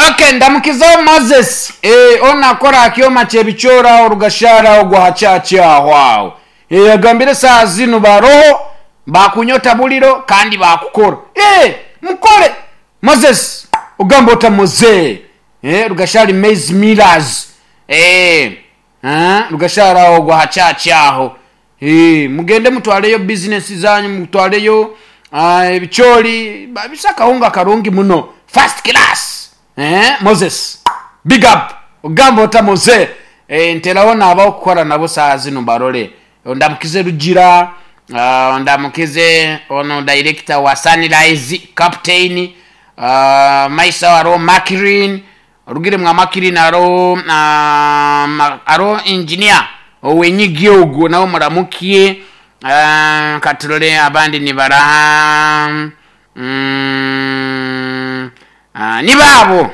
Ok ndamukizeho Moses eeh onu akora aha kyoma kyebicoori aho Rugashara aho gwa ha church aho aho eeh agambire esaaha zinu baroho bakunyota buriro kandi bakukora eeh mukore Moses ogamba ota Mozee eeh Rugashari maize millers eeh Rugashara aho gwa ha church aho Eeh mugende mutwareyo business zanyu mutwareyo ebicoori babise akahunga karungi muno first class eeh Moses big up ogamba ota Mose eeh nteraho nabaho kukora nabo saaha zinu mbarore ondamukize Rugira ondamukize ono director wa Sunrise captain maiso aho hariho Macklin Orugire mwa Makirini hariho hariho engineer owenyigi ogwo nawe muramukye katurore abandi nibaraha nibo abo.